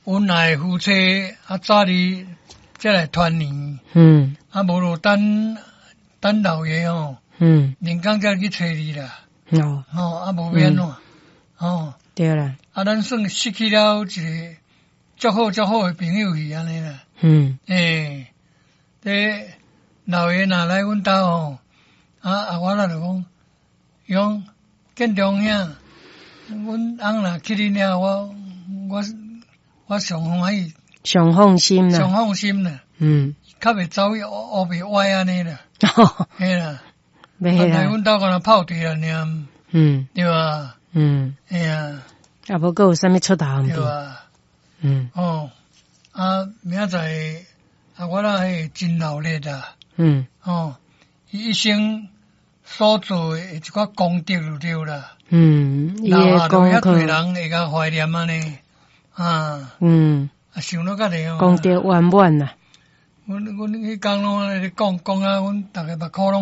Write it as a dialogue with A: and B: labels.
A: 恩愛夫妻啊，早日才來團圓。啊，無就等等老爺吼，年工才去揣你啦。吼，啊，無欲按怎？吼。
B: 對啦。
A: 啊，咱算失去了一个足好足好的朋友去按呢啦。欸，這老爺若來阮兜吼，啊啊，我若就講，伊講建中兄，阮翁若去恁遐，我上歡喜。
B: 上放心啦。
A: 上放心啦。較袂走去烏白歪按呢啦。嘿啦。
B: 袂
A: 啦。來阮兜敢若泡茶爾。對吧？嘿啊。
B: 啊，無閣有啥物出頭毋
A: 對啊。哦，啊，明仔載啊，我若彼真鬧熱啊。哦，伊一生所做的一寡功德就對啦。
B: 伊的功課。
A: 遐濟人會共懷念按呢，啊。啊，想到遮爾哦。
B: 功德圓滿啦。
A: 阮彼工攏按呢講講啊，阮逐个目箍攏。